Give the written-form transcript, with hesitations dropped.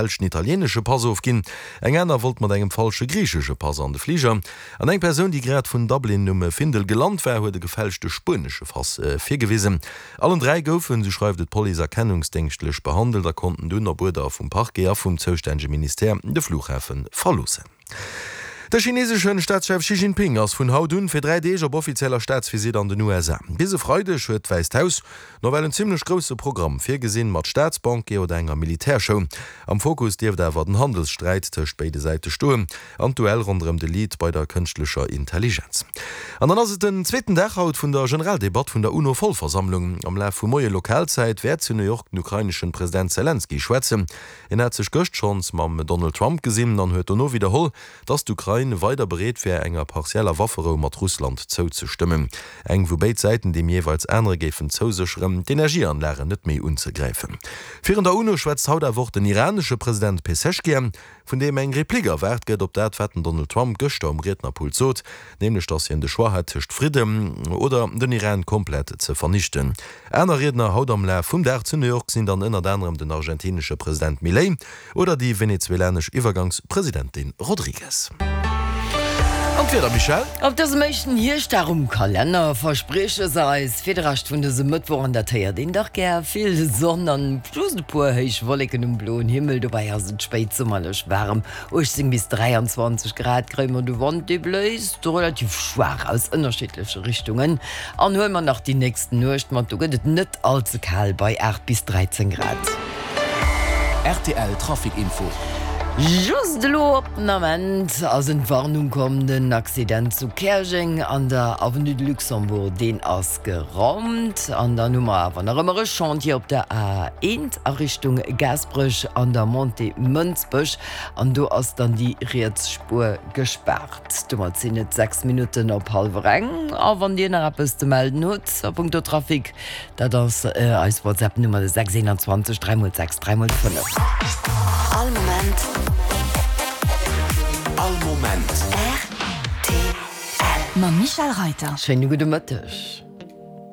Gefälschten italieenesche Pass ofginn, eng aner wollt mat engem falsche griichesche Pass an de Fliger an eng Persoun, déi grad vun Dublin um Findel gelant war, huet e gefälschte spuenesche Pass virgewisen. Allen 3 goufen, sou schreift et d'Police, erkennungsdéngschtlech behandelt a konnten dunn op Uerder vum Parquet a vum zoustännege Ministère de Flughafe verloossen. De chineesesche Staatschef Xi Jinping ass vun haut un fir 3 Deeg op offizieller Staatsvisitt an den USA. Bis e Freideg huet d'Wäisst Haus Nawell en zimmlech grousse Programm virgesinn, mat Staatsbanquier oder enger Militärshow. Am Fokus dierft awer den Handelssträit tëscht béide Säite stoen an d'Duell ronderëm de Lead bei der kënschtlecher Intelligenz. An dann ass et den zweeten Dag haut vun der Generaldebatt vun der UNO-Vollversammlung. Am Laf vum Moie Lokalzäit wäert zu New York den ukraineschen President Selenskyj schwätzen. Hien hat sech gëscht schonns mam Donald Trump gesinn an huet dono widderholl, datt d'Ukrain weider bereet wär, enger partieller Wafferou mat Russland zouzestëmmen. Eng, wou béid Säiten deem jeeweils anere géifen zousécheren, d'Energieanlagen net méi unzegräifen. Virun der UNO schwätzt haut awer och den iranesche President Pezeshkian, vun deem eng Replique erwaart gëtt op dat, wat den Donald Trump gëschter um Riednerpult sot, nämlech datt hien de Choix hätt tëscht Fridden oder den Iran komplett ze vernichten. Aner Riedner haut am Laf vum Dag zu New York sinn dann ënnert anerem den argentinesche President Milei oder déi venezuelanesch Iwwergangspresidentin Rodriguez. An d'Wieder, Michèle? Op dësem éischten Hierschtdag um Kalenner versprieche se eis fir de Rescht vun dësem Mëttwoch, an dat héiert een dach gär, vill Sonn an just e puer héich Wolleken um bloen Himmel. Dobäi ass et spéitsummerlech waarem, 18 bis 23 Grad kréie mer. De Wand, dee bléist relativ schwaach aus ënnerschiddleche Richtungen. An huele mer nach déi nächst Nuecht mat, do gëtt et net all ze kal bei 8 bis 13 Grad. Rtl Trafic Info. Just elo op den Ament ass Entwarnung komm, den Accident zu Käerjeng an der Avenue de Luxembourg, deen ass geraumt. An dann hu mer awer nach ëmmer e Chantier op der A1 a Richtung Gaasperech an der Montée Mënsbech an do ass dann déi riets Spuer gespaart. Domat sinn et 6 Minutten op hallwer eng a wann Dir nach eppes ze melden hutt a punkto Trafic, Dat ass eis WhatsApp Nummer de 6 21 3 x 6 3 x 5. All Moment. All Moment. Rtl. Mam Michèle Reiter. Schéine gudde Mëtteg.